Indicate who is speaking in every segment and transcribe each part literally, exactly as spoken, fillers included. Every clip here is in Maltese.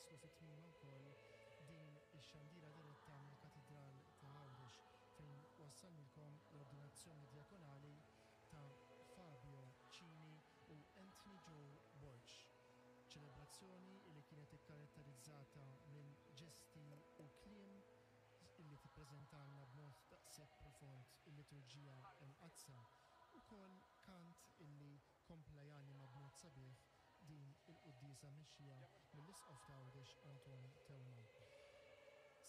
Speaker 1: naslu fi tmiema wkoll din ix-xandira diretta mill-Katidral ta' Għawdex, fejn wassalnilkom l-ordinazzjoni djakonali ta' Fabio Cini u Anthony Joe Borg. Ċelebrazzjoni li kienet ikkaratterizzata minn ġesti u kliem illi tippreżentalna b'mod daqshekk profond il-liturġija Imqaddsa, ukoll kant illi kompla janima b'mod sabiħ din il-quddiesa mmexxija mill-Isqof ta' Għawdex Anton Teuma.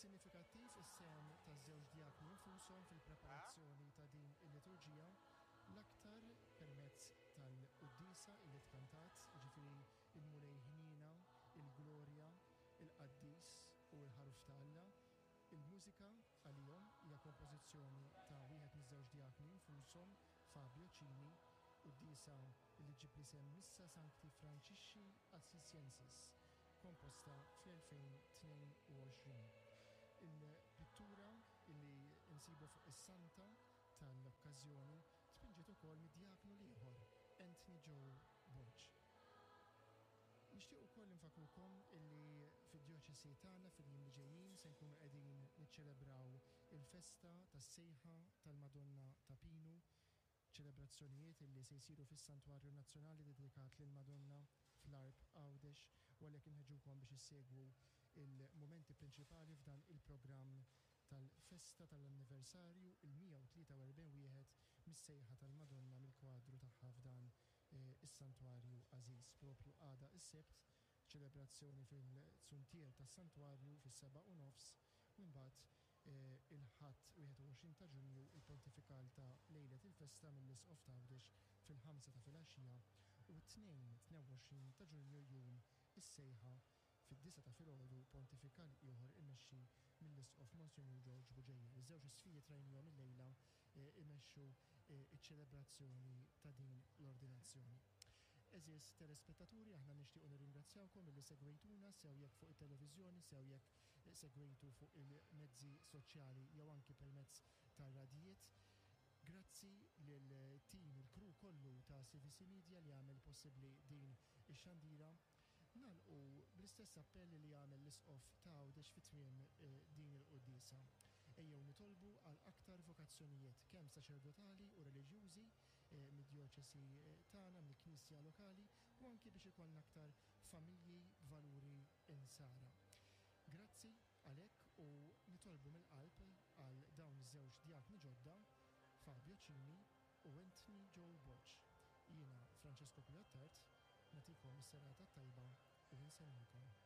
Speaker 1: Sinifikattiv is-sehem taż-żewġ djakni infushom fil-preparazzjoni ta' din il-liturġija, l-aktar permezz tal-quddiesa illi tkantat, jiġifieri il-Mulej Ħniena, il-Glorja, il-Qaddis u l-Ħaruf ta' Alla. Il-mużika għalihom hija kompożizzjoni ta' wieħed miż-żewġ djakni infushom, Fabio Cini, quddiesa li ġġib l-isem Missa Sancti Francisci Assisiensis, komposta fl-elfejn tnejn u għoxrin. Il-pittura li nsibu fuq is-santa tal-okkażjoni tpinġiet ukoll mid-djaknu l-ieħor, Anthony Joe Borg. Nixtieq ukoll infakkrukom illi fid-djoċesi tagħna fil-jiem li ġejjin se nkunu qegħdin niċċelebraw il-festa tas-sejħa tal-Madonna ta' Pinu, ċelebrazzjonijiet illi se jsiru fis-Santwarju Nazzjonali dedikat lill-Madonna fl-Għarb Għawdex, u għalhekk inħeġġukom biex issegwu il-momenti prinċipali f'dan il-programm tal-festa tal-anniversarju il-mija u tlieta u erbgħin wieħed mis-sejħa tal-Madonna mill-kwadru tagħha f'dan, eh, is-santwarju għażiż. Propju għada is-Sibt, ċelebrazzjoni fil-Zuntier tas-Santwarju fis-seba' u nofs, u mbagħad, eh, il-Ħadd wieħed u għoxrin ta' Ġunju il-pontifikal ta' lejlet il-festa mill-Isqof ta' Għawdex fil-ħamsa ta' filgħaxija, u t-Tnejn tnejn u għoxrin ta' Ġunju jum is-sejħa fid-disgħa ta' filgħodu pontifikal ieħor immexxi mill-Isqof Monsinjur George Bugeja. Iż-żewġ isfijiet rajnihom illejla, eh, imexxu, eh, iċ-ċelebrazzjoni ta' din l-ordinazzjoni. Eżis telespettaturi, aħna nixtiequ nirringrazzjawkom illi segwejtuna sew jekk fuq it-televiżjoni, sew jekk segwejtu fuq il-mezzi soċjali jew anki permezz tar-radijiet. Grazzi lil tim, il-crew kollu ta' C V C Media li għamel possibbli din ix-xandira. Nagħlqu bl-istess appell li għamel l-Isqof ta' Għawdex fi tmiem, eh, din il-quddiesa. Ejjew nitolbu għal aktar vokazzjonijiet kemm saċerdotali u reliġjużi, eh, mid-djoċesi, eh, tagħna, mill-Knisja lokali, u anki biex ikollna aktar familji b'valuri insara. Grazzi għalhekk u nitolbu mill-qalb għal dawn iż-żewġ djakni ġodda, Fabio Cini u Anthony Joe Borg. Jiena Francesco Pio Attard, nagħtikom is-serata tajba u nsellmilkom.